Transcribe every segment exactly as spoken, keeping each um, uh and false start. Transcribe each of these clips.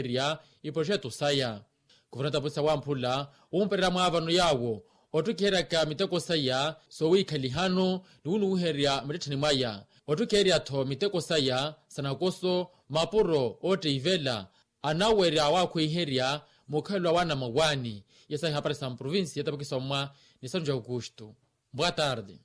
erya iproxeto saya. Kuvuna tapusa wamphula wumpererya mwaavano yaawo otthukiheryaka miteko saya soowiikhalihano ni wunuwiherya mittettheni mwaya otthukiherya-tho miteko saya sa nakoso mapuro ootteivela anawerya waakhweiherya mukhalelo wa wana mawaani. Iya sahi hapari sa mprovincia yatapakisommwa ni sanu ja aukustu. Boa tarde.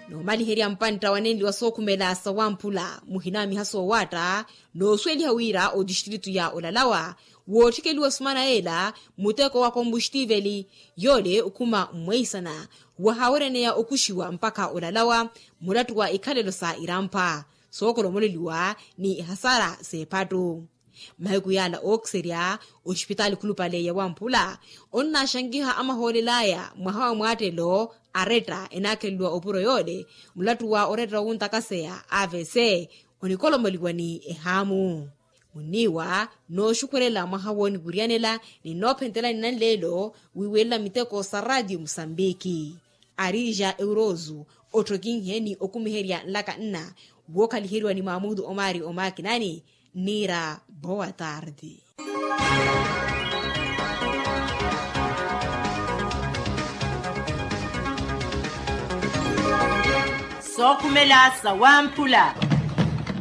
Noomaliherya mpantta wanenli wa sookhumela sawamphula muhinaamiha soowaatta noosweliha wira otistritu ya olalawa woothikeliwa sumana yeela muteko wa kombuxtiveli yoole okhuma mmweisana wahawereneya okuxiwa mpakha olalawa mulattu wa ikhalelo sa irampha sookolomoleliwa ni ehasara s'ephattu. Mahiku yaala ookiserya oxipitaali khulupale ya wamphula onnaaxankiha amahoolel'aya mwaha wa mwaattelo aretta enaakheleliwa opuro yoole mulattu wa oretta wonttakaseya avc onikolomoliwa ni ehaamu. Munniiwa nooxukhwelela mwaha wooniwiriyanela ni noophentelani nanleelo wiiwelela miteko sa raatiyo musambiki. Arija eurozu otthokinhe ni okumiherya nlaka nna wookhaliheriwa ni maamutu omaari omaakinani. Niira boa tarde. Sookhumela sawamphula.